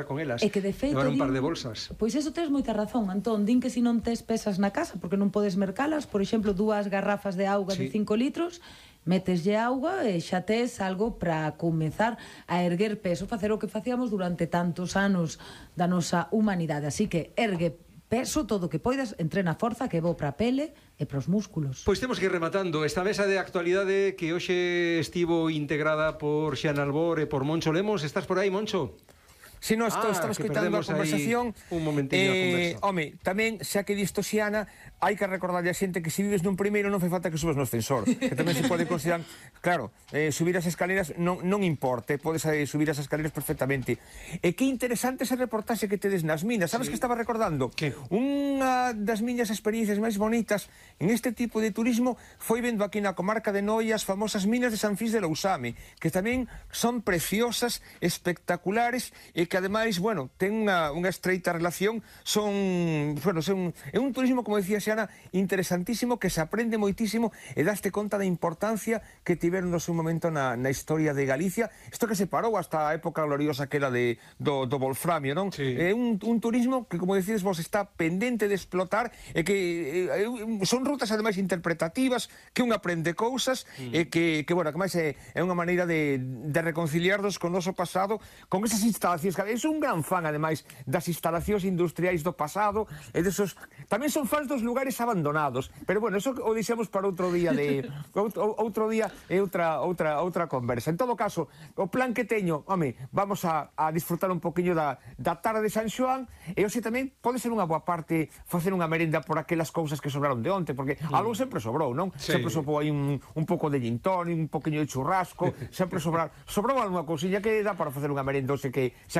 con elas, E que de feito levar un par de din, bolsas. pois eso tes moita razón, Antón. Din que se non tes pesas na casa, porque non podes mercalas, por exemplo, 2 garrafas de auga de 5 litros, meteslle auga e xa tes algo para comezar a erguer peso, facer o que facíamos durante tantos anos da nosa humanidade. Así que ergue peso todo o que poidas, entrena forza, que é bo para a pele e para os músculos. Pois temos que ir rematando esta mesa de actualidade que hoxe estivo integrada por Xian Albor e por Moncho Lemos. Estás por aí, Moncho? Se non estamos escoitando a conversación, un momentiño a conversa. Home, tamén, xa que disto Xiana, hai que recordarlle a xente que se vives nun primeiro non fai falta que subas no ascensor, que tamén se pode considerar, claro, subir as escaleras non importa, podes subir as escaleras perfectamente. E que interesante ese reportaxe que tedes nas minas. Sabes que estaba recordando? Que? Unha das miñas experiencias máis bonitas en este tipo de turismo foi vendo aquí na comarca de Noia as famosas minas de San Fis de Lousame, que tamén son preciosas, espectaculares e que ademais, bueno, ten unha estreita relación, é un turismo, como decía Xiana, interesantísimo, que se aprende moitísimo e daste conta da importancia que tiveron no seu momento na historia de Galicia, isto que se parou hasta a época gloriosa que era do wolframio, non? Sí. É un turismo que, como decides vos, está pendente de explotar e que son rutas ademais interpretativas, que un aprende cousas e que bueno, que máis é unha maneira de reconciliarnos con o noso pasado, con esas instalacións que é un gran fan, ademais, das instalacións industriais do pasado e desos... Tamén son fans dos lugares abandonados, pero bueno, eso o deixamos para outro día outro día e outra conversa. En todo caso, o plan que teño, home, vamos a disfrutar un poquinho da tarde de San Xoán e hoxe tamén pode ser unha boa parte facer unha merenda por aquelas cousas que sobraron de onte, porque algo sempre sobrou, non? Sí. Sempre sobrou aí un pouco de gin tonic, un poquinho de churrasco, sempre sobrou algunha cousiña que dá para facer unha merenda, xa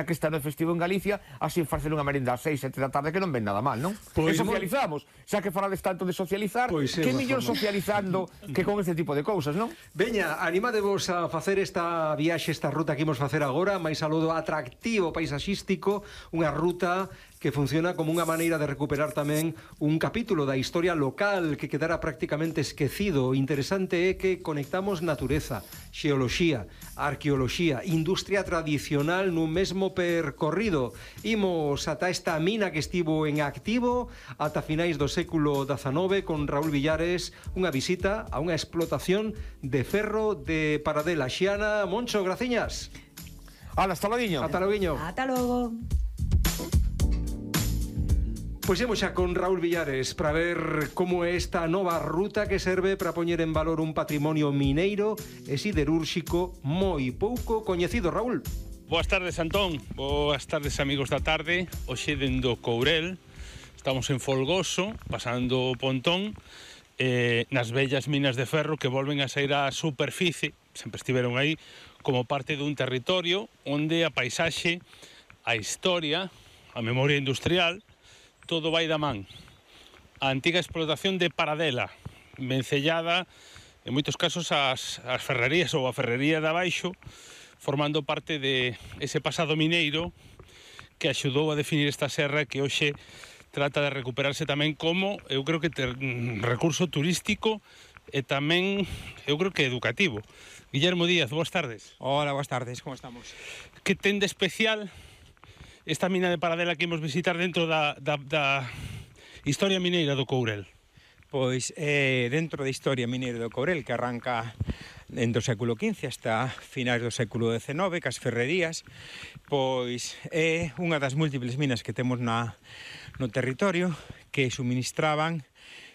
que está no festivo en Galicia, así facer unha merenda ás 6, 7 da tarde que non ven nada mal, non? Pois e socializamos, xa que falades tanto de socializar, Pois que mellor socializando que con este tipo de cousas, non? Veña, animadevos a facer esta viaxe, esta ruta que imos facer agora, máis saludo atractivo paisaxístico, unha ruta que funciona como unha maneira de recuperar tamén un capítulo da historia local que quedara prácticamente esquecido. O interesante é que conectamos natureza, xeoloxía, arqueoloxía, industria tradicional nun mesmo percorrido. Imos ata esta mina que estivo en activo ata finais do século XIX con Raúl Villares, unha visita a unha explotación de ferro de Paradela. Xiana, Moncho, graciñas. Hasta loguiño. Ata loguiño. Ata logo. Pois imos xa con Raúl Villares para ver como é esta nova ruta que serve para poñer en valor un patrimonio mineiro e siderúrxico moi pouco coñecido. Raúl. Boas tardes, Antón. Boas tardes, amigos da tarde. Hoxe dendo Courel, estamos en Folgoso, pasando o Pontón, nas vellas minas de ferro que volven a sair á superficie, sempre estiveron aí, como parte dun territorio onde a paisaxe, a historia, a memoria industrial, todo vai da man. A antiga explotación de Paradela, vencellada, en moitos casos, ás ferrerías ou a ferrería de abaixo, formando parte de ese pasado mineiro que axudou a definir esta serra que hoxe trata de recuperarse tamén como, eu creo que recurso turístico e tamén, eu creo que educativo. Guillermo Díaz, boas tardes. Hola, boas tardes, como estamos? Que ten de especial esta mina de Paradela que imos visitar dentro da historia mineira do Courel? Pois dentro da historia mineira do Courel, que arranca dentro do século XV hasta finais do século XIX, cas ferrerías, pois é unha das múltiples minas que temos no territorio que suministraban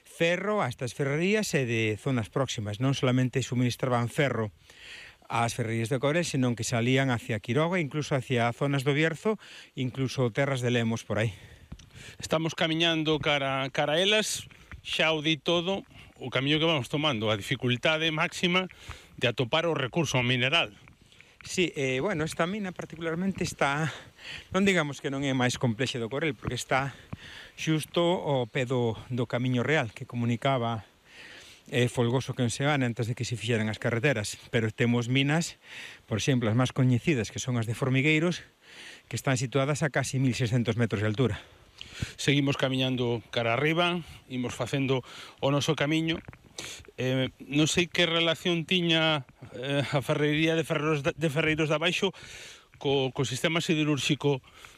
ferro a estas ferrerías e de zonas próximas. Non solamente suministraban ferro ás ferrerías de Courel, senón que salían hacia Quiroga, incluso hacia zonas do Bierzo, incluso terras de Lemos por aí. Estamos camiñando cara a elas, xa o di todo, o camiño que vamos tomando, a dificultade máxima de atopar o recurso mineral. Sí, bueno, esta mina particularmente está, non digamos que non é máis complexa do Courel, porque está xusto ao pé do Camiño Real, que comunicaba Folgoso que Enseana antes de que se fixeran as carreteras, pero temos minas, por exemplo, as máis coñecidas, que son as de Formigueiros, que están situadas a casi 1600 metros de altura. Seguimos camiñando cara arriba, imos facendo o noso camiño. Non sei que relación tiña a ferrería de Ferreiros de Abaixo co sistema siderúrxico